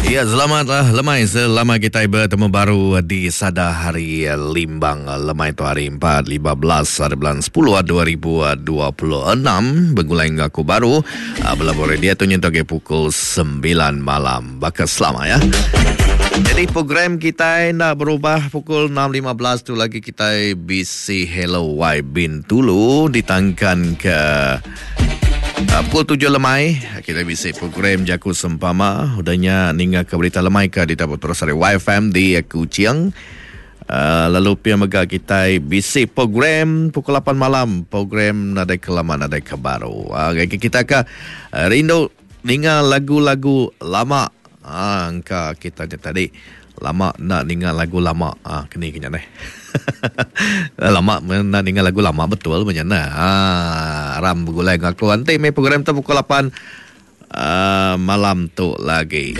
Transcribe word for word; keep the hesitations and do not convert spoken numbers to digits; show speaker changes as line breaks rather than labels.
Ya, selamat lah lemai selama kita bertemu baru di Sada Hari Limbang lemai tu hari empat lima belas hari bulan sepuluh dua ribu dua puluh enam begulai dengan aku baru belabur dia tu nyentuk ke pukul sembilan malam bakal selama ya. Jadi program kita nak berubah pukul enam lima belas tu lagi kita B C Hello Y Bintulu ditangkan ke Uh, pukul tujuh lemai kita bisa program Jaku Sempama udahnya ninga ke berita lemai ke di tabur terus dari Y F M di Kuching. Uh, lalu pia mega kita B C program pukul lapan malam program nadai kelama nadai kebaru. Uh, kita ke uh, rindu ninga lagu-lagu lama. Ah, angka kita je tadi lama nak ninga lagu lama. Ah, kini kena deh. Lama nak ninga lagu lama betul macam mana. Ah, ram bergulai dengan aku nanti mai program tu pukul lapan, uh, malam tu lagi.